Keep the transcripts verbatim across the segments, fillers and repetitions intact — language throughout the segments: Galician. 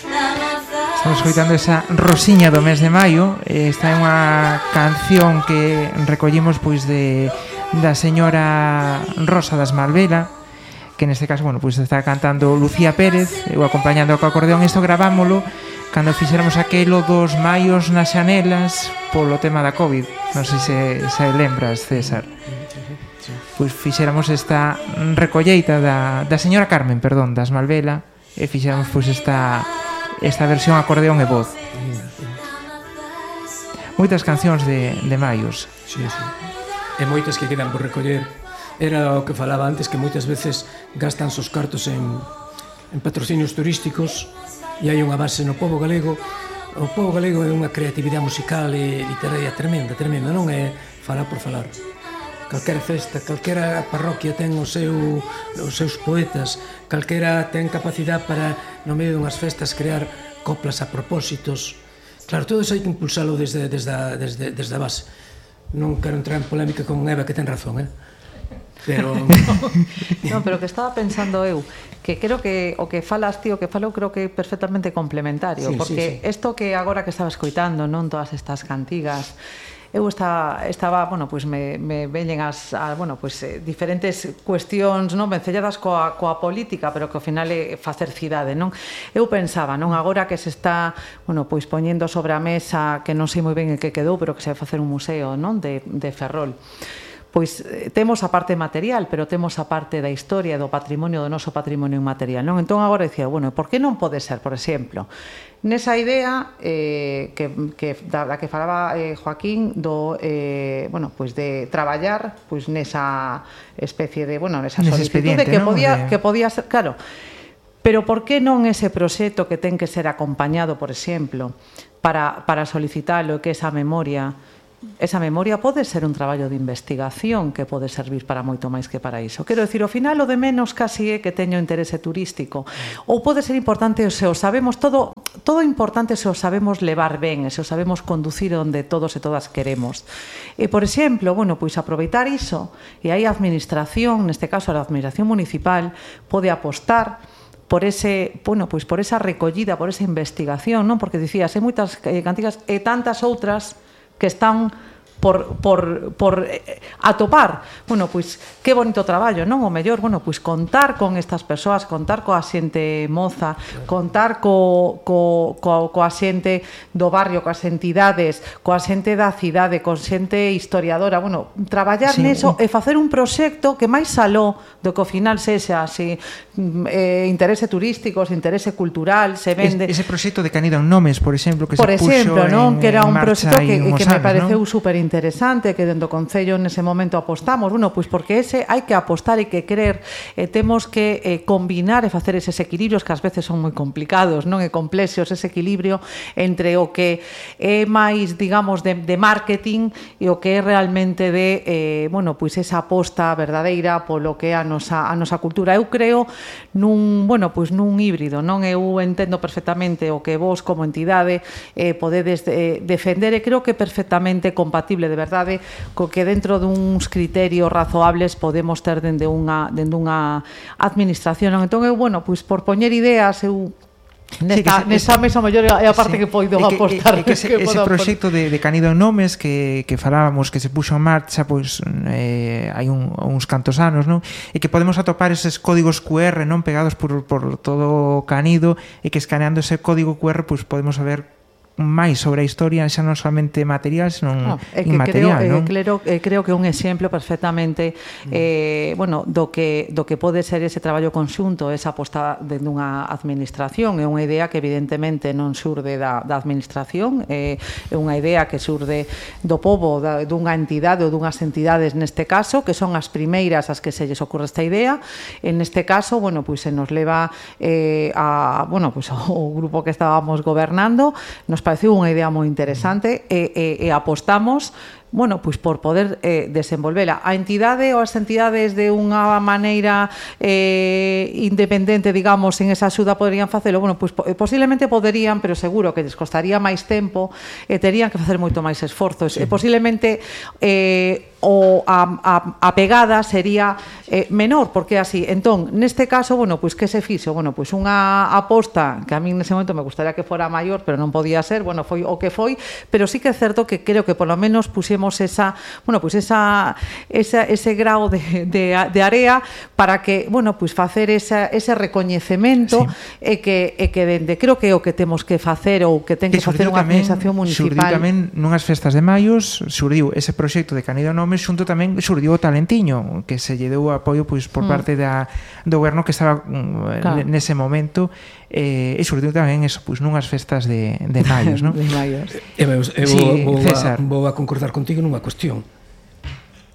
Estamos escoitando esa Rosiña do mes de maio. Esta é unha canción que recollimos pois de da señora Rosa das Malvela, que neste caso, bueno, pois está cantando Lucía Pérez, eu acompañando co acordeón. Isto gravámolo cando fixéramos aquelo dos maios nas xanelas polo tema da COVID. Non sei se, se lembras, César. Pois fixéramos esta recolleita da, da señora Carmen, perdón, das Malvela, e fixéramos pois esta esta versión acordeón e voz. Moitas cancións de, de maios. Sí, sí. E moitas que quedan por recoller. Era o que falaba antes, que moitas veces gastan os cartos en, en patrocinios turísticos, e hai unha base no pobo galego. O pobo galego é unha creatividade musical e literaria tremenda, tremenda, non é falar por falar. Calquera festa, calquera parroquia ten o seu, os seus poetas, calquera ten capacidade para, no medio dunhas festas, crear coplas a propósitos. Claro, todo iso hai que impulsalo desde, desde, a, desde, desde a base. Non quero entrar en polémica con Eva, que ten razón, eh? Pero... non, pero que estaba pensando eu, que creo que o que falas ti, o que falo, creo que é perfectamente complementario, sí, porque isto sí, sí. que agora que estaba escoitando, non, todas estas cantigas, eu estaba, estaba bueno, pois me, me veñen as, a, bueno, pois, eh, diferentes cuestións, non, vencelladas coa, coa política, pero que ao final é facer cidade, non? Eu pensaba, non, agora que se está, bueno, pois poñendo sobre a mesa, que non sei moi ben en que quedou, pero que se vai facer un museo, non, de, de Ferrol. Pois temos a parte material, pero temos a parte da historia, do patrimonio, do noso patrimonio inmaterial, non? Entón agora dicía, bueno, por que non pode ser, por exemplo, nesa idea eh, que, que, da, da que falaba eh, Joaquín do, eh, bueno, pois de traballar pois nesa especie de, bueno, nesa solicitude que ¿no? podía, de... que podía ser, claro, pero por que non ese proxecto que ten que ser acompañado, por exemplo, para, para solicitalo, que esa memoria esa memoria pode ser un traballo de investigación que pode servir para moito máis que para iso. Quero dicir, ao final o de menos casi é que teño interese turístico, ou pode ser importante se o sabemos todo, todo importante se o sabemos levar ben, se o sabemos conducir onde todos e todas queremos. E, por exemplo, bueno, pois aproveitar iso, e aí a administración, neste caso a administración municipal, pode apostar por ese, bueno, pois por esa recollida, por esa investigación, non? Porque dicías, hai moitas eh, cantigas e tantas outras que están por, por, por atopar. Bueno, pois, que bonito traballo, non? O mellor, bueno, pois contar con estas persoas, contar coa xente moza, contar co, co, co, coa xente do barrio, coas entidades, coa xente da cidade, con xente historiadora, bueno, traballar sí, neso un... e facer un proxecto que máis aló do que ao final sexa así, eh, interese turístico, interese cultural, se vende... Es, ese proxecto de Canido en Nomes, por exemplo, que por se exemplo, puxo non? en, Que era un proxecto que, que me anos, pareceu ¿no? super interesante, que dentro do Concello nese momento apostamos, bueno, pois porque ese hai que apostar e que querer, e temos que eh, combinar e facer eses equilibrios que ás veces son moi complicados, non? E complexos, ese equilibrio entre o que é máis, digamos, de, de marketing e o que é realmente de, eh, bueno, pois esa aposta verdadeira polo que é a nosa, a nosa cultura. Eu creo nun, bueno, pois nun híbrido, non? Eu entendo perfectamente o que vos como entidade eh, podedes eh, defender, e creo que perfectamente compatible de verdade co que dentro duns criterios razoables podemos ter dende unha, dende unha administración. Entón eu, bueno, pois por poñer ideas, eu nesta, sí, nesta mesa maior é a parte sí, que poido que, apostar que, que, ese, que ese proxecto de, de Canido en Nomes que, que falábamos, que se puxo en marcha pois eh, hai un, uns cantos anos, non? E que podemos atopar eses códigos Q R, non, pegados por, por todo Canido, e que escaneando ese código Q R pois podemos saber máis sobre a historia, xa non somente material, senón no, é que inmaterial, creo, non? Eh, creo, eh, creo que un exemplo perfectamente eh, bueno, do que, do que pode ser ese traballo conxunto, esa aposta dende unha administración, é unha idea que evidentemente non xurde da, da administración, é, é unha idea que xurde do pobo, da, dunha entidade ou dunhas entidades neste caso, que son as primeiras as que se lles ocorre esta idea. En este caso, bueno, pois se nos leva eh, a, bueno, pois ao grupo que estábamos gobernando, nos pareceu unha idea moi interesante e, e, e apostamos, bueno, pois por poder eh, desenvolvela. A entidade ou as entidades de unha maneira eh, independente, digamos, en esa axuda poderían facelo, bueno, pois posiblemente poderían, pero seguro que lles costaría máis tempo e terían que facer moito máis esforzos. Sí. E posiblemente eh, o a, a, a pegada sería eh, menor, porque así, entón, neste caso, bueno, pois que se fixo? Bueno, pois unha aposta que a mí nese momento me gustaría que fora maior, pero non podía ser, bueno, foi o que foi, pero sí que é certo que creo que polo menos puxemos esa, bueno, pois esa, esa ese grao de, de, de area para que, bueno, pois facer esa, ese recoñecemento sí. e que e que dende, creo que é o que temos que facer ou que ten que facer unha administración municipal. Surdiu tamén nunhas festas de maios, surdiu ese proxecto de Canido Nome, xunto tamén surdiu o Talentiño, que se lle deu apoio pois por mm. parte da do goberno que estaba claro. nese momento, eh, e surdiu tamén eso, pois nunhas festas de, de maios, non? De maios. Eu, eu, eu sí, vou, a, vou a concordar contigo nunha cuestión.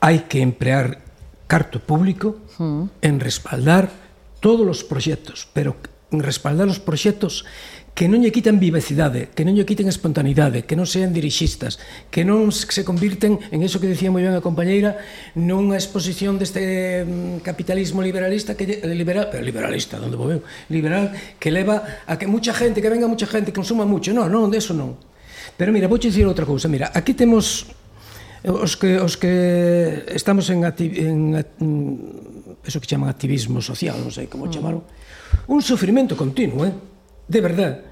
Hai que emplear carto público mm. en respaldar todos os proxectos, pero en respaldar os proxectos que non lle quiten vivacidade, que non lle quiten espontaneidade, que non sean dirixistas, que non se convirten en eso que decía moi ben a compañeira, nunha exposición deste capitalismo liberalista, que liberal, pero liberalista, onde vou eu? Liberal, que leva a que mucha gente, que venga mucha gente, que consuma mucho. Non, non, de eso non. Pero mira, vou dicir outra cousa. Mira, aquí temos os que os que estamos en, en, en eso que chaman activismo social, non sei como chamaron, un sufrimento continuo, eh? De verdad,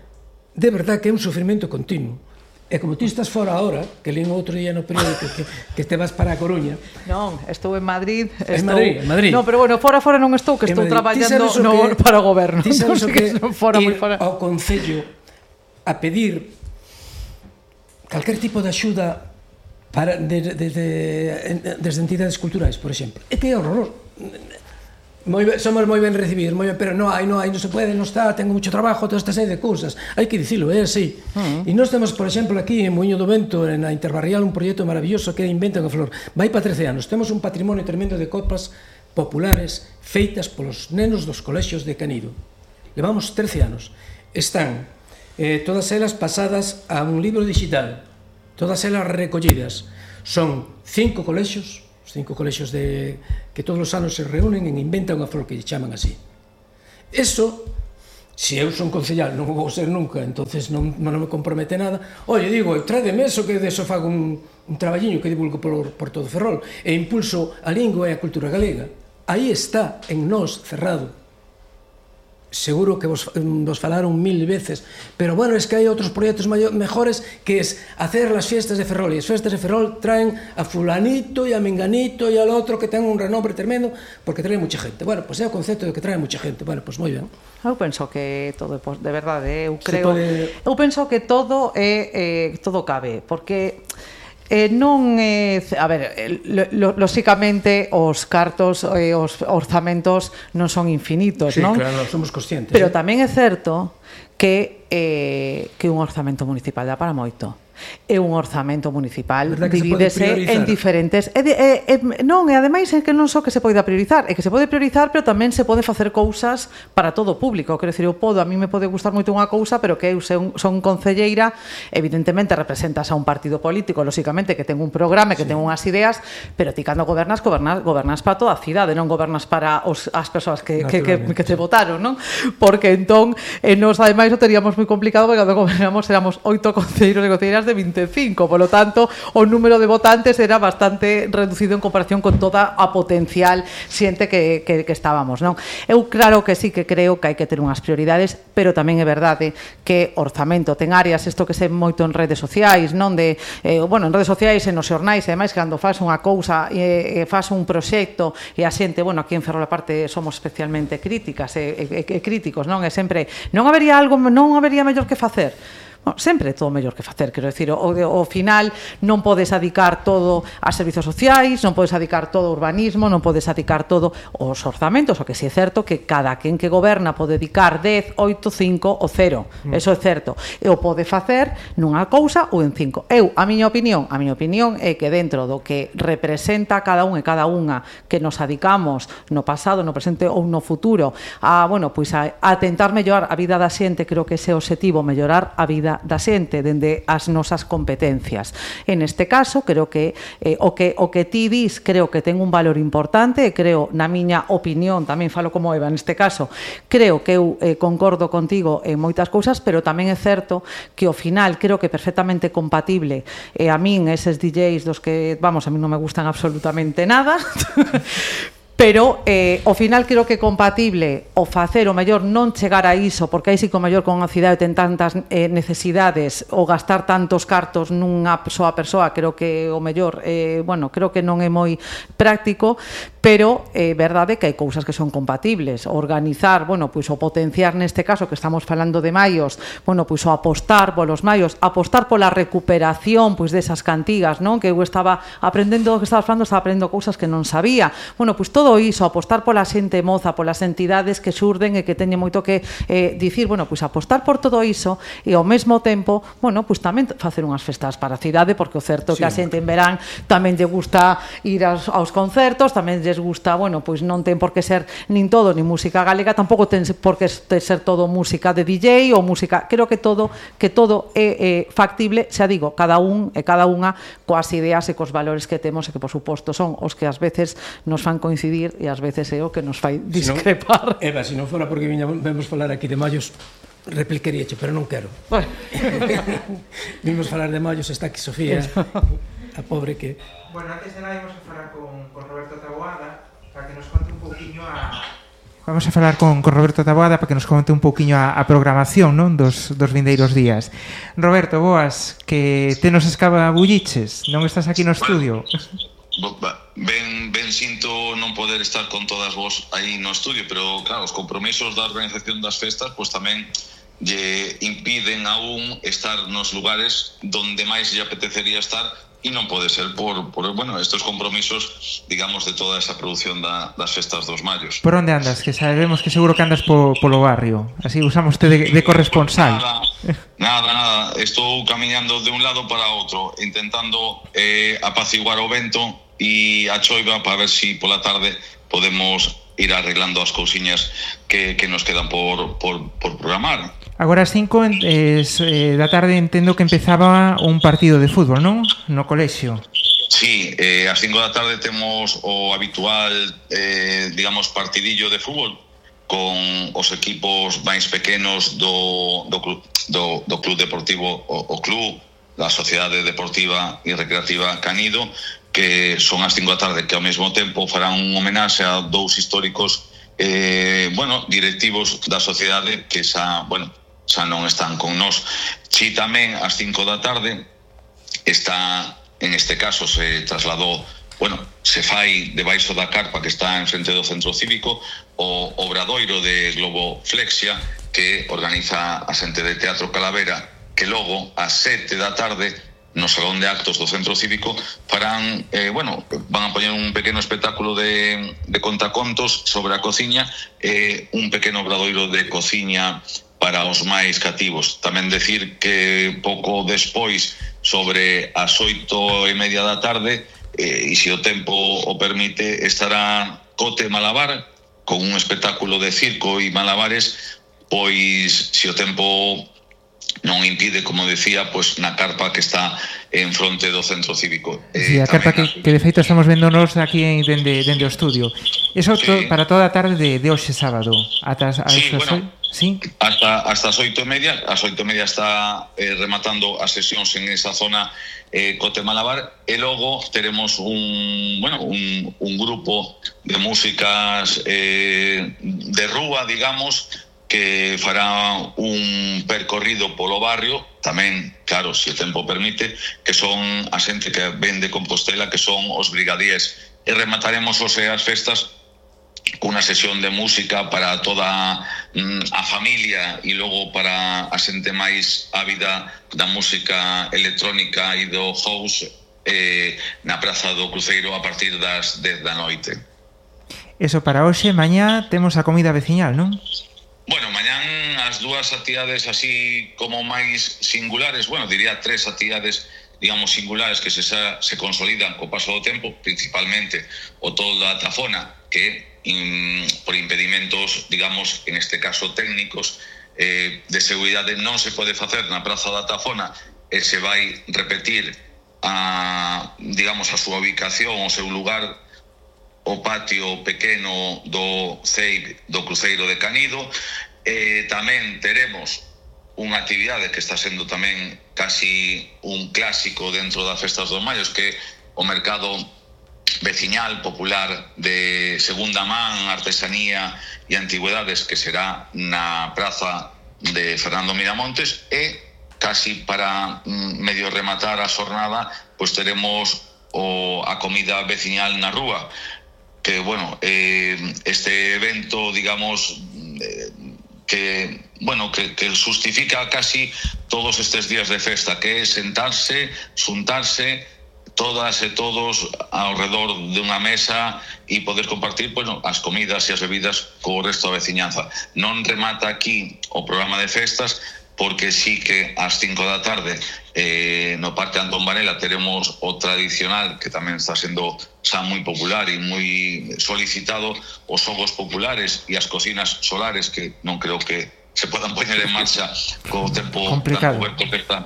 de verdad que é un sufrimento continuo. E como ti estás fora ahora, que lín outro día no periódico que, que te vas para a Coruña. Non, estou en Madrid. En Madrid, en Madrid. No, pero bueno, fora fora non estou, que estou traballando no, para o goberno. Ti sabes o que, que fora, ir fora. ao Concello a pedir calquer tipo de axuda para, de, de, de, desde entidades culturais, por exemplo. É que é horroroso. Moi ben, somos moi ben recibidos, moi ben, pero non hai, non hai, non se pode, non está, tengo mucho trabajo, toda esta serie de cousas. Hai que dicilo, é así. Uh -huh. E nós temos, por exemplo, aquí en Moinho do Vento, na Interbarrial, un proxecto maravilloso que é Inventa unha Flor. Vai para trece anos. Temos un patrimonio tremendo de copas populares feitas polos nenos dos colexios de Canido. Levamos trece anos. Están eh, todas elas pasadas a un libro digital, todas elas recollidas. Son cinco colexios, cinco colexios de, que todos os anos se reúnen en Inventa unha Flor, que lle chaman así. Eso, se eu son concellal, non vou ser nunca, entonces non, non me compromete nada. Oye, digo, tráedeme eso que deso fago un, un traballiño que divulgo por, por todo Ferrol e impulso a lingua e a cultura galega. Aí está, en nós, cerrado. Seguro que vos, vos falaron mil veces, pero bueno, es que hai outros proxectos mejores, que es hacer las fiestas de Ferrol, e as fiestas de Ferrol traen a fulanito e a menganito e al outro que ten un renombre tremendo, porque trae mucha gente. Bueno, pues é o concepto de que trae mucha gente. Bueno, pues moi ben. Eu penso que todo, de verdade, eu creo, pode... eu penso que todo é, eh, todo cabe, porque Eh, non é, eh, a ver, lo, lóxicamente os cartos e eh, os orzamentos non son infinitos, sí, non? Sí, claro, somos conscientes. Pero eh? tamén é certo que eh, que un orzamento municipal dá para moito. E un orzamento municipal divídese en diferentes e, de, e, e, non, e ademais é que non só que se poida priorizar, é que se pode priorizar, pero tamén se pode facer cousas para todo o público. Quero dicir, eu podo, a mí me pode gustar moito unha cousa, pero que eu son, son concelleira, evidentemente representas a un partido político, lóxicamente, que ten un programa, que sí. ten unhas ideas, pero ti cando gobernas, gobernas, gobernas para toda a cidade, non gobernas para os, as persoas que, que, que, que te votaron, non? Porque entón, eh, nos ademais o teríamos moi complicado, porque cando gobernamos éramos oito concelleiros e concelleiras de veinticinco, por lo tanto o número de votantes era bastante reducido en comparación con toda a potencial xente que, que, que estábamos, non? Eu claro que sí que creo que hai que ter unhas prioridades, pero tamén é verdade que orzamento ten áreas, isto que se moito en redes sociais, non de, eh, bueno, en redes sociais e nos xornais, e ademais cando faz unha cousa e, e faz un proxecto e a xente, bueno, aquí en Ferrol aparte somos especialmente críticas e, e, e críticos, non? É sempre, non habería algo, non habería mellor que facer. Bueno, sempre é todo mellor que facer, quero dicir, o, o final non podes adicar todo a servizos sociais, non podes adicar todo ao urbanismo, non podes adicar todo aos orzamentos, o que si é certo que cada quen que goberna pode dedicar dez, oito, cinco ou cero, mm. eso é certo, e o pode facer nunha cousa ou en cinco. Eu, a miña opinión, a miña opinión é que dentro do que representa cada un e cada unha que nos adicamos no pasado, no presente ou no futuro a, bueno, pois a, a tentar mellorar a vida da xente, creo que ese é o obxectivo, mellorar a vida da, da xente, dende as nosas competencias. En este caso, creo que eh, o que o que ti dis, creo que ten un valor importante, e creo, na miña opinión, tamén falo como Eva neste caso, creo que eu eh, concordo contigo en moitas cousas, pero tamén é certo que ao final creo que é perfectamente compatible, e a min eses D Js dos que, vamos, a mí non me gustan absolutamente nada, pero eh, ao final creo que é compatible o facer o mellor non chegar a iso, porque aí sí que o mellor con a cidade ten tantas eh, necesidades ou gastar tantos cartos nunha soa persoa, creo que o mellor eh, bueno, creo que non é moi práctico, pero é eh, verdade que hai cousas que son compatibles. Organizar, bueno, pois o potenciar neste caso que estamos falando de maios, bueno, pois o apostar polos maios, apostar pola recuperación pois desas cantigas, non? Que eu estaba aprendendo, que estaba falando, estaba aprendendo cousas que non sabía. Bueno, pois todo iso, apostar pola xente moza, polas entidades que xurden e que teñen moito que eh, dicir, bueno, pois apostar por todo iso e ao mesmo tempo, bueno, pois tamén facer unhas festas para a cidade, porque o certo é que a xente en verán tamén lle gusta ir aos, aos concertos, tamén lles gusta, bueno, pois non ten por que ser nin todo, nin música galega, tampouco ten por que ser todo música de D J ou música, creo que todo que todo é eh, factible, xa digo, cada un e cada unha coas ideas e cos valores que temos e que, por suposto, son os que ás veces nos fan coincidir e ás veces é o que nos fai discrepar. Si no, Eva, se non fora porque viña, vemos falar aquí de mallos, replicaríache, pero non quero. Bueno. Vimos falar de mallos, está aquí Sofía, a pobre que... Bueno, antes de nada íbamos a falar con, con Roberto Taboada para que nos conte un pouquiño a... Vamos a falar con, con Roberto Taboada para que nos conte un pouquiño a, a programación, non? Dos, dos vindeiros días. Roberto, boas, que te nos escabulliches, non estás aquí no estudio? Ben, ben sinto non poder estar con todas vos aí no estudio, pero claro, os compromisos da organización das festas pois tamén lle impiden aún estar nos lugares donde máis lle apetecería estar e non pode ser por, por bueno, estos compromisos, digamos, de toda esa produción da, das festas dos mallos. Por onde andas? Que sabemos que seguro que andas po, polo barrio. Así usamos te de, de corresponsal. Nada, nada, nada. Estou camiñando de un lado para outro, intentando eh, apaciguar o vento e a choiva para ver si pola tarde podemos ir arreglando as cousiñas que, que nos quedan por, por, por programar. Agora as cinco eh, da tarde entendo que empezaba un partido de fútbol, non? No colexio. Sí, eh, ás cinco da tarde temos o habitual, eh, digamos, partidillo de fútbol con os equipos máis pequenos do, do, do, do Club Deportivo, o, o Club, da Sociedade Deportiva e Recreativa Canido, que son ás cinco da tarde, que ao mesmo tempo farán un homenaxe a dous históricos eh, bueno, directivos da sociedade que xa, bueno, xa non están con nós. Si tamén ás cinco da tarde está, en este caso se trasladou, bueno, se fai debaixo da carpa que está en frente do Centro Cívico o obradoiro de Globo Flexia que organiza a xente de Teatro Calavera, que logo ás sete da tarde no Salón de Actos do Centro Cívico farán, eh, bueno, van a poñer un pequeno espectáculo de, de contacontos sobre a cociña e eh, un pequeno obradoiro de cociña para os máis cativos. Tamén decir que pouco despois, sobre as oito e media da tarde, eh, e se o tempo o permite, estará Cote Malabar con un espectáculo de circo e malabares, pois se o tempo non impide, como decía, pois na carpa que está en fronte do Centro Cívico. Sí, a carpa que, que de feito estamos véndonos aquí dende, dende o estudio. Eso sí. to, para toda a tarde de, de hoxe sábado. Ata, a sí, bueno, sí? hasta, hasta as oito e media. As oito e media está eh, rematando as sesións en esa zona eh, Cote Malabar, e logo teremos un, bueno, un, un grupo de músicas eh, de rúa, digamos, que fará un percorrido polo barrio, tamén, claro, se o tempo permite, que son a xente que ven de Compostela, que son os brigadíes. E remataremos hoxe as festas cunha sesión de música para toda mm, a familia e logo para a xente máis ávida da música electrónica e do house eh, na Praza do Cruceiro a partir das dez da noite. Eso para hoxe, mañá temos a comida veciñal, non? Bueno, mañán as dúas actividades así como máis singulares, bueno, diría tres actividades, digamos, singulares que se, se consolidan co paso do tempo, principalmente o todo da Tafona, que in, por impedimentos, digamos, en este caso técnicos, eh, de seguridade non se pode facer na Praza da Tafona e se vai repetir a, digamos, a súa ubicación, o seu lugar, o patio pequeno do C E I B do Cruceiro de Canido. Eh, tamén teremos unha actividade que está sendo tamén casi un clásico dentro das festas dos Mallos, que é o mercado veciñal popular de segunda man, artesanía e antigüedades, que será na praza de Fernando Miramontes. E casi para medio rematar a xornada, pois teremos o, a comida veciñal na rúa, que, bueno, eh, este evento, digamos, eh, que, bueno, que, que justifica casi todos estes días de festa, que é sentarse, xuntarse, todas e todos ao redor de unha mesa e poder compartir, bueno, as comidas e as bebidas co resto da veciñanza. Non remata aquí o programa de festas, porque sí que ás cinco da tarde eh, no Parque Antón Varela teremos o tradicional, que tamén está sendo xa moi popular e moi solicitado, os xogos populares e as cocinas solares, que non creo que se podan poñer en marcha co tempo complicado tan coberto que está.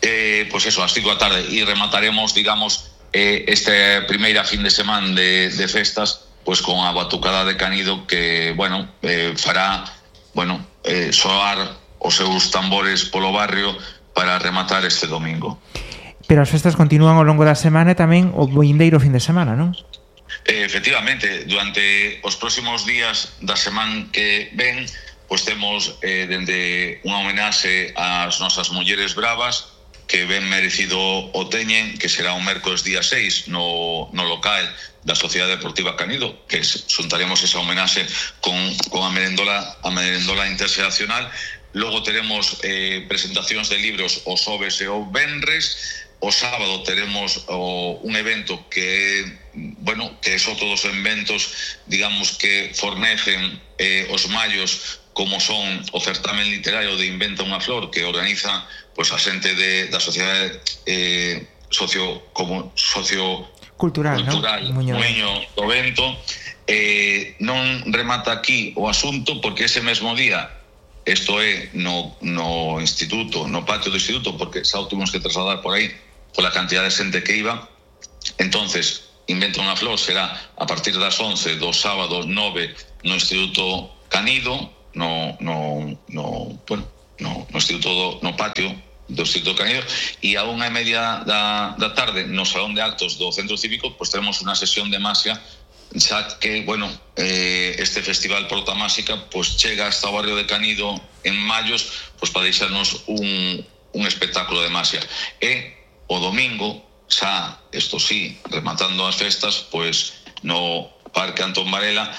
Eh, pois eso, ás cinco da tarde, e remataremos, digamos, eh, esta primeira fin de semana de, de festas, pois con a batucada de Canido, que, bueno, eh, fará, bueno, eh, soar os seus tambores polo barrio para rematar este domingo. Pero as festas continúan ao longo da semana e tamén o vindeiro fin de semana, non? Eh, efectivamente, durante os próximos días da semana que ven, pois temos eh, dende unha homenaxe ás nosas mulleres bravas, que ben merecido o teñen, que será o mércoles día seis no, no local da Sociedade Deportiva Canido, que xuntaremos esa homenaxe con, con a merendola a merendola internacional. Logo teremos eh, presentacións de libros o xoves e o venres. O sábado teremos o, un evento que, bueno, que son todos os eventos, digamos, que fornecen eh, os mallos, como son o certamen literario de Inventa unha Flor, que organiza, pois, a xente de, da sociedade eh, socio, como, socio cultural, cultural ¿no? Muiño do Vento. Eh, non remata aquí o asunto, porque ese mesmo día, isto é no, no instituto, no patio do instituto, porque xa o tuvimos que trasladar por aí pola cantidad de xente que iba. Entonces, Inventa unha Flor será a partir das once do sábado nove no Instituto Canido, no, no, no, bueno, no, no instituto do, no patio do Instituto Canido, e a unha e media da, da tarde no salón de actos do Centro Cívico, pois teremos unha sesión de masia, xa que, bueno, eh, este festival Porta Máxica pois chega hasta o barrio de Canido en Mallos, pois para deixarnos un, un espectáculo de masia. E o domingo, xa, isto sí, rematando as festas, pois no Parque Antón Varela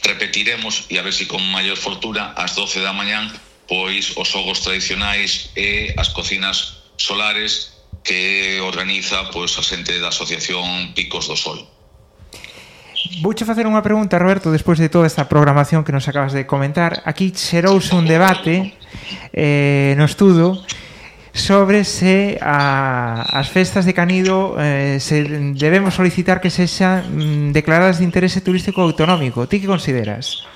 repetiremos, e a ver se si con maior fortuna, ás doce da mañán, pois os xogos tradicionais e as cocinas solares que organiza, pois, a xente da Asociación Picos do Sol. Vouche facer unha pregunta, Roberto, despois de toda esta programación que nos acabas de comentar. Aquí xerouse un debate eh, no estudo sobre se a, as festas de Canido eh, se debemos solicitar que sexan mm, declaradas de interese turístico autonómico. Ti que consideras?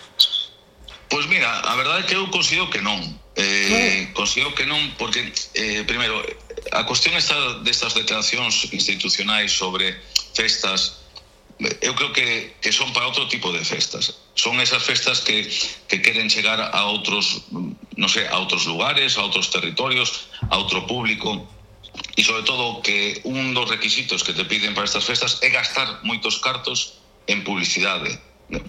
Pois mira, a verdade é que eu considero que non. Eh, considero que non porque, eh, primeiro, a cuestión está destas declaracións institucionais sobre festas, eu creo que, que son para outro tipo de festas. Son esas festas que, que queren chegar a outros, non sei, a outros lugares, a outros territorios, a outro público, e sobre todo que un dos requisitos que te piden para estas festas é gastar moitos cartos en publicidade,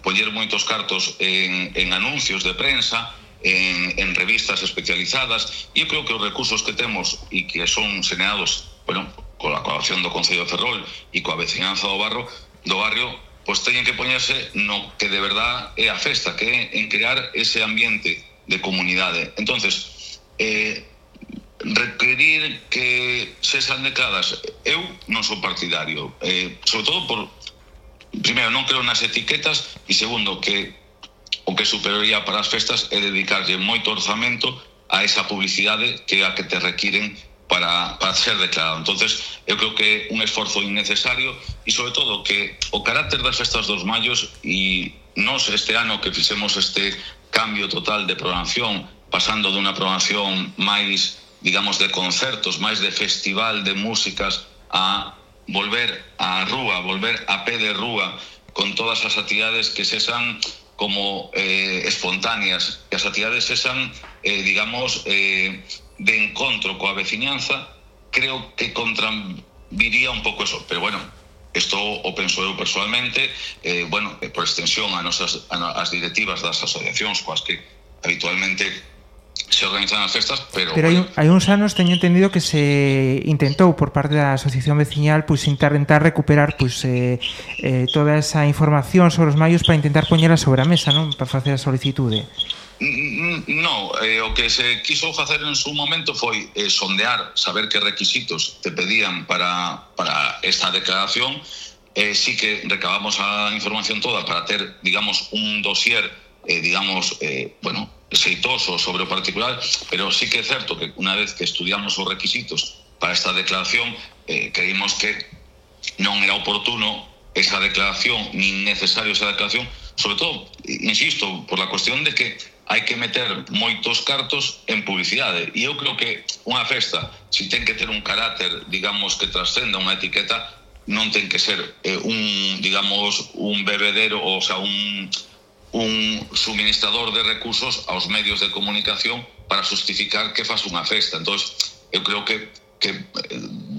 poñer moitos cartos en, en anuncios de prensa, en, en revistas especializadas, e eu creo que os recursos que temos e que son señalados, bueno, coa colaboración do Concello de Ferrol e coa veciñanza do barrio, do barrio, pois teñen que poñerse no que de verdad é a festa, que é en crear ese ambiente de comunidade. Entonces, eh, requerir que sexan declaradas, eu non sou partidario, eh, sobre todo por, primeiro, non creo nas etiquetas, e segundo, que o que superaría para as festas é dedicarlle moito orzamento a esa publicidade que é a que te requiren para, para ser declarado. Entonces, eu creo que é un esforzo innecesario, e sobre todo que o carácter das festas dos Mallos, e nós este ano que fixemos este cambio total de programación, pasando dunha programación máis, digamos, de concertos, máis de festival de músicas, a volver á rúa, volver a pé de rúa, con todas as actividades que sexan como eh, espontáneas, que as actividades sexan, eh, digamos, eh, de encontro coa veciñanza. Creo que contraviría un pouco eso, pero bueno, isto o penso eu personalmente, eh, bueno, por extensión a nosas, a, as directivas das asociacións coas que habitualmente se organizan as festas, pero... Pero hai, hai uns anos teño entendido que se intentou por parte da asociación veciñal pois intentar recuperar pois eh, eh, toda esa información sobre os maios para intentar poñela sobre a mesa, non? Para facer a solicitude. No, eh, o que se quiso facer en su momento foi eh, sondear, saber que requisitos te pedían para, para esta declaración. Eh, sí que recabamos a información toda para ter, digamos, un dossier, eh, digamos, eh, bueno, xeitoso sobre o particular, pero sí que é certo que unha vez que estudiamos os requisitos para esta declaración, eh, creímos que non era oportuno esa declaración, nin necesario esa declaración, sobre todo, insisto, por la cuestión de que hai que meter moitos cartos en publicidade, e eu creo que unha festa, si ten que ter un carácter, digamos, que trascenda unha etiqueta, non ten que ser eh, un, digamos, un bebedero, o sea, un un suministrador de recursos aos medios de comunicación para justificar que faz unha festa. Entón, eu creo que, que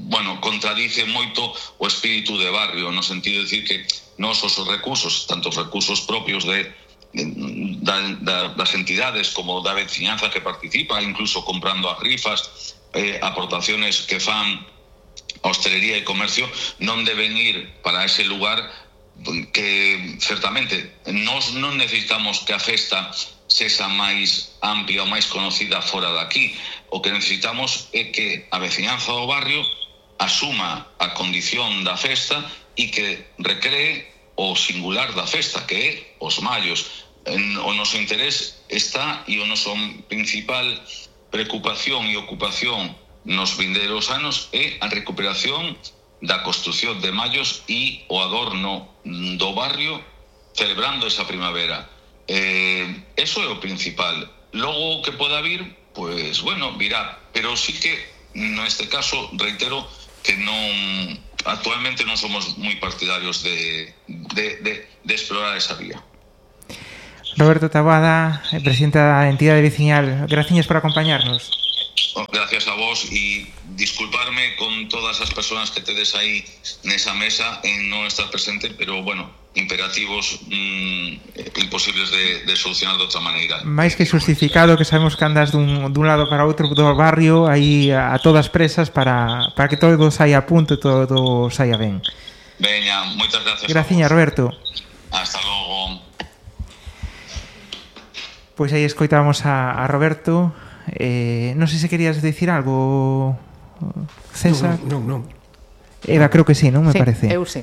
bueno, contradice moito o espírito de barrio, no sentido de decir que nos os recursos, tanto os recursos propios de, de da, da, das entidades como da veciñanza que participa, incluso comprando as rifas, eh, aportaciones que fan a hostelería e comercio, non deben ir para ese lugar que certamente nós non necesitamos que a festa sexa máis amplia ou máis conocida fora daqui. O que necesitamos é que a veciñanza do barrio asuma a condición da festa e que recree o singular da festa, que é os mallos. O noso interés está, e o noso principal preocupación e ocupación nos vindeiros anos é a recuperación da construción de mallos e o adorno do barrio celebrando esa primavera. Eh, eso é o principal. Logo o que poda vir, pues bueno, virá. Pero sí que, neste caso, reitero que non, actualmente non somos moi partidarios de, de, de, de explorar esa vía. Roberto Taboada, presidente da entidade veciñal, graciñas por acompañarnos. Gracias a vos, e disculparme con todas as persoas que tedes aí nesa mesa en non estar presente, pero bueno, imperativos mm, imposibles de, de solucionar de outra maneira. Mais que justificado, que sabemos que andas dun, dun lado para outro do barrio aí a, a todas presas para, para que todo saia a punto e todo saia ben. Veña, moitas gracias. Graciña, Roberto. Hasta logo. Pois aí escoitamos a, a Roberto. Eh, non sei se querías decir algo, César. Non, non, non. Eva, creo que sí, non me sí, parece. Eu sí.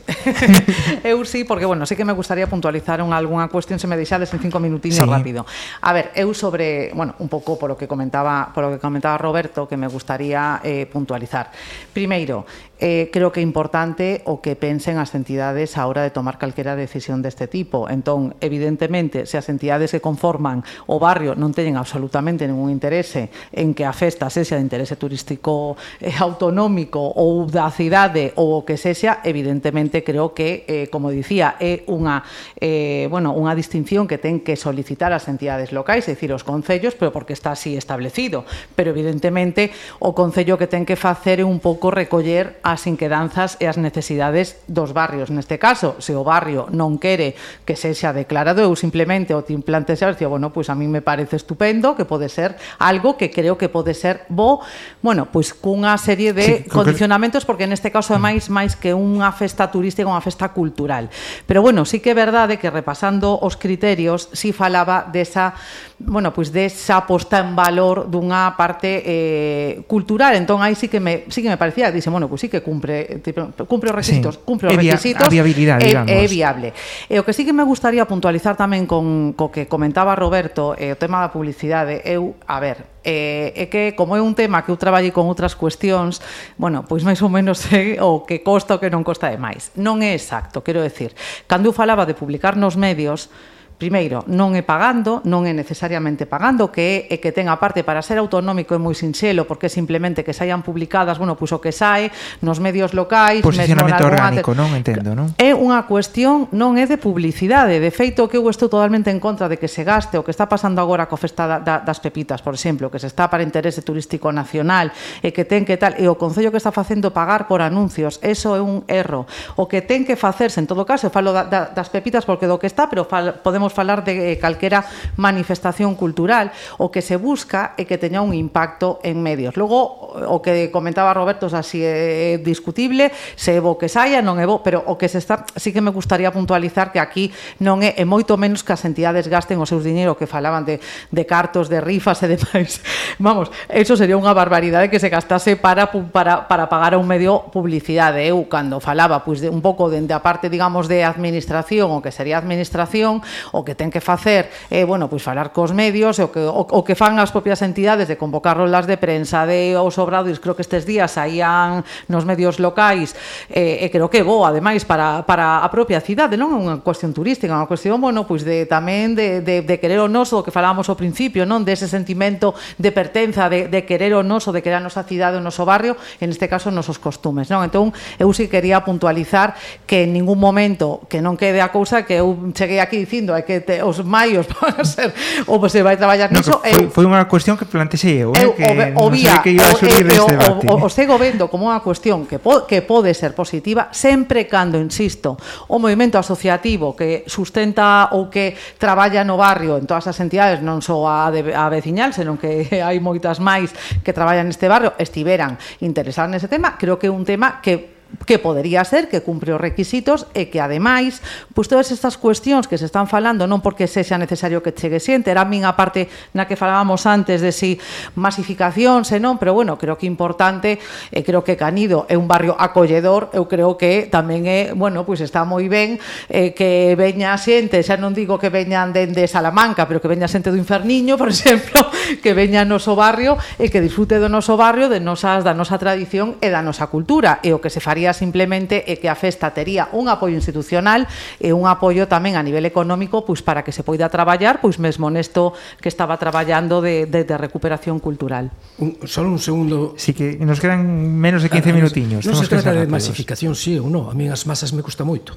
eu sí, porque, bueno, sí que me gustaría puntualizar un, algunha cuestión, se me deixades en cinco minutiños sí. rápido. A ver, eu sobre, bueno, un pouco por o que comentaba, por o que comentaba Roberto, que me gustaría eh, puntualizar. Primeiro, eh, creo que é importante o que pensen as entidades a hora de tomar calquera decisión deste tipo. Entón, evidentemente, se as entidades que conforman o barrio non teñen absolutamente ningún interese en que a festa sexa de interese turístico eh, autonómico ou da cidade ou o que sexa, evidentemente creo que, eh, como dicía, é unha eh, bueno, unha distinción que ten que solicitar as entidades locais, é dicir, os concellos, pero porque está así establecido. Pero evidentemente o concello que ten que facer é un pouco recoller as inquedanzas e as necesidades dos barrios. Neste caso, se o barrio non quere que sexa declarado, eu simplemente o te implantes e digo, bueno, pois a mí me parece estupendo, que pode ser algo que creo que pode ser bo, bueno, pois cunha serie de sí, condicionamentos, porque neste caso é máis máis que unha festa turística, unha festa cultural. Pero bueno, sí que é verdade que repasando os criterios, sí falaba desa, bueno, pois desa posta en valor dunha parte eh, cultural. Entón aí sí que me sí que me parecía, dixe, bueno, pois sí que cumpre cumpre os requisitos, sí, cumpre os requisitos, a viabilidade, é, digamos. É viable. E o que sí que me gustaría puntualizar tamén con co que comentaba Roberto, eh, o tema da publicidade, eu, a ver, eh, é que como é un tema que eu traballei con outras cuestións, bueno, pois máis ou menos é o que costa o que non costa de máis. Non é exacto, quero decir, cando eu falaba de publicar nos medios, primeiro, non é pagando, non é necesariamente pagando, que é, é que ten a parte para ser autonómico é moi sinxelo, porque é simplemente que saian publicadas, bueno, pois o que sae nos medios locais, posicionamento orgánico, non? Entendo, non? É unha cuestión, non é de publicidade, de feito que eu estou totalmente en contra de que se gaste o que está pasando agora co Festa da, da, das Pepitas, por exemplo, que se está para interese turístico nacional e que ten que tal, e o Concello que está facendo pagar por anuncios, eso é un erro. O que ten que facerse, en todo caso, falo da, da, das Pepitas porque do que está, pero fal, podemos falar de calquera manifestación cultural, o que se busca é que teña un impacto en medios. Logo, o que comentaba Roberto, así é discutible, se é bo que saia, non é bo, pero o que se está, sí que me gustaría puntualizar que aquí non é, e moito menos que as entidades gasten os seus diñeiro, que falaban de, de cartos, de rifas e demais. Vamos, eso sería unha barbaridade que se gastase para, para, para pagar a un medio publicidade. Eu, cando falaba, pois, de un pouco dende a parte, digamos, de administración, o que sería administración, o que ten que facer é, eh, bueno, pois falar cos medios, o que, o, o que fan as propias entidades de convocar rolas de prensa, de os obradoiros, creo que estes días saían nos medios locais, e eh, eh, creo que bo, ademais, para, para a propia cidade, non é unha cuestión turística, é unha cuestión, bueno, pois de tamén de, de, de querer o noso, que falábamos ao principio, non, dese sentimento de pertenza, de, de querer o noso, de querer a nosa cidade, o noso barrio, en este caso, os nosos costumes, non? Entón, eu si quería puntualizar que en ningún momento, que non quede a cousa que eu cheguei aquí dicindo, é que te, os maios van a ser, ou se vai traballar no, niso. Foi, foi unha cuestión que plantexei eu, eu eh, que o, o non vía, sei que iba a subir o, este o, debate. O, o, o sigo vendo como unha cuestión que, po, que pode ser positiva, sempre cando, insisto, o movimento asociativo que sustenta ou que traballa no barrio en todas as entidades, non só a, de, a veciñal, senón que hai moitas máis que traballan neste barrio, estiveran interesados nese tema, creo que é un tema que que podería ser, que cumpre os requisitos e que, ademais, pois todas estas cuestións que se están falando, non porque sexa necesario que chegue xente, era a min a parte na que falábamos antes de si masificación, senón, pero bueno, creo que é importante, e creo que Canido é un barrio acolledor, eu creo que tamén é, bueno, pois está moi ben eh, que veña xente, xa non digo que veñan dende Salamanca, pero que veña xente do Inferniño, por exemplo, que veña ao noso barrio e que disfrute do noso barrio, de nosas, da nosa tradición e da nosa cultura, e o que se faría simplemente é que a festa tería un apoio institucional e un apoio tamén a nivel económico, pois para que se poida traballar, pois mesmo nesto que estaba traballando de, de, de recuperación cultural. Un, solo un segundo. Sí, que nos quedan menos de quince minutiños. Non se trata de masificación, sí ou non. A mí as masas me gusta moito.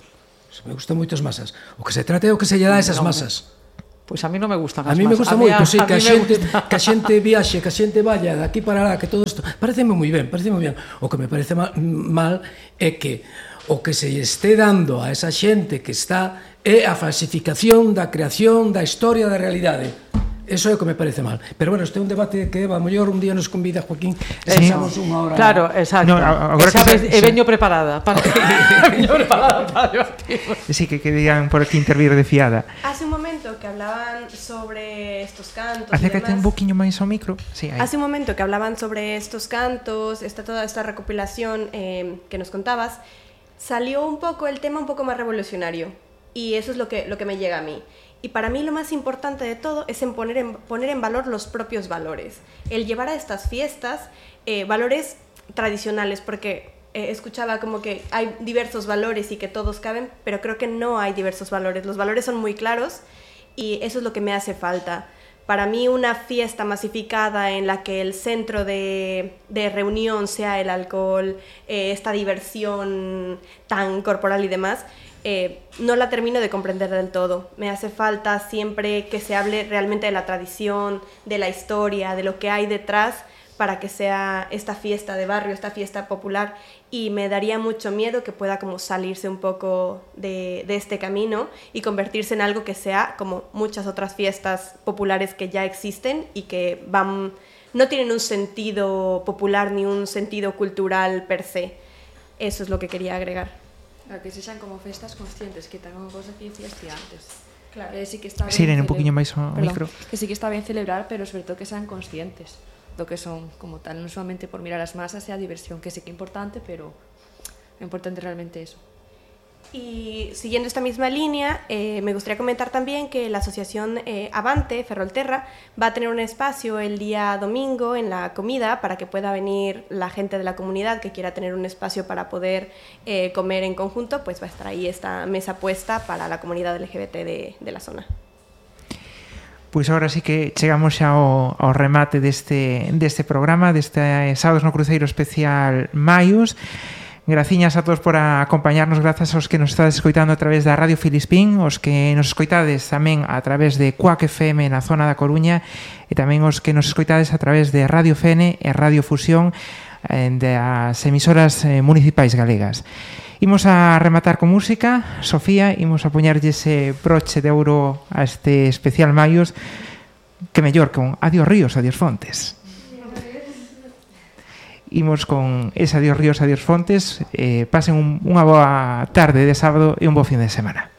Me gustan moito as masas. O que se trata é o que se lle dá a esas masas. Pois a mí non me gustan as masas. A mí me gusta moito, sí, que a xente, que a xente viaxe, que a xente vaya de aquí para lá, que todo isto, pareceme moi ben, pareceme moi ben. O que me parece mal, mal é que o que se este dando a esa xente que está é a falsificación da creación da historia da realidade. Eso é o que me parece mal. Pero bueno, este é un debate que, a mellor, un día nos convida Joaquín e sí, pasamos unha hora... Claro, exacto. No, agora que sabes, e veño preparada para veño preparada para debatir. Sí, que querían por aquí intervir de fiada. Hace un momento que hablaban sobre estos cantos. Acércate un poquinho máis ao micro. Sí, Hace un momento que hablaban sobre estos cantos, esta, toda esta recopilación eh, que nos contabas, salió un poco el tema un poco más revolucionario. Y eso es lo que, lo que me llega a mí. Y para mí lo más importante de todo es en poner, en poner en valor los propios valores. El llevar a estas fiestas eh, valores tradicionales, porque eh, escuchaba como que hay diversos valores y que todos caben, pero creo que no hay diversos valores. Los valores son muy claros y eso es lo que me hace falta. Para mí una fiesta masificada en la que el centro de, de reunión sea el alcohol, eh, esta diversión tan corporal y demás, Eh, no la termino de comprender del todo. Me hace falta siempre que se hable realmente de la tradición, de la historia, de lo que hay detrás para que sea esta fiesta de barrio, esta fiesta popular, y me daría mucho miedo que pueda como salirse un poco de, de este camino y convertirse en algo que sea como muchas otras fiestas populares que ya existen y que van, no tienen un sentido popular ni un sentido cultural per se. Eso es lo que quería agregar. A que sexan como festas conscientes, que tamén unha cosa que dicías ti antes. Claro. Eh, sí que está ben sí, un poquinho máis ao micro. Que sí que está ben celebrar, pero sobre todo que sean conscientes do que son como tal, non solamente por mirar as masas e a diversión, que sí que é importante, pero é importante realmente eso. Y siguiendo esta misma línea, eh, me gustaría comentar también que la asociación eh, Avante, Ferrolterra, va a tener un espacio el día domingo en la comida para que pueda venir la gente de la comunidad que quiera tener un espacio para poder eh, comer en conjunto, pues va a estar ahí esta mesa puesta para la comunidad L G B T de, de la zona. Pois agora sí que chegamos xa ao, ao remate deste, deste programa, deste Sábados no Cruceiro especial Maios. Graciñas a todos por acompañarnos, grazas aos que nos estades escoitando a través da Radio Filispín, os que nos escoitades tamén a través de Cuac F M na zona da Coruña e tamén os que nos escoitades a través de Radio F N e Radio Fusión das emisoras municipais galegas. Imos a rematar con música. Sofía, imos a poñerlle ese broche de ouro a este especial Maios, que mellor con Adiós Ríos, Adiós Fontes. Imos con ese Adiós Ríos, Adiós Fontes. Eh, pasen un, unha boa tarde de sábado e un bo fin de semana.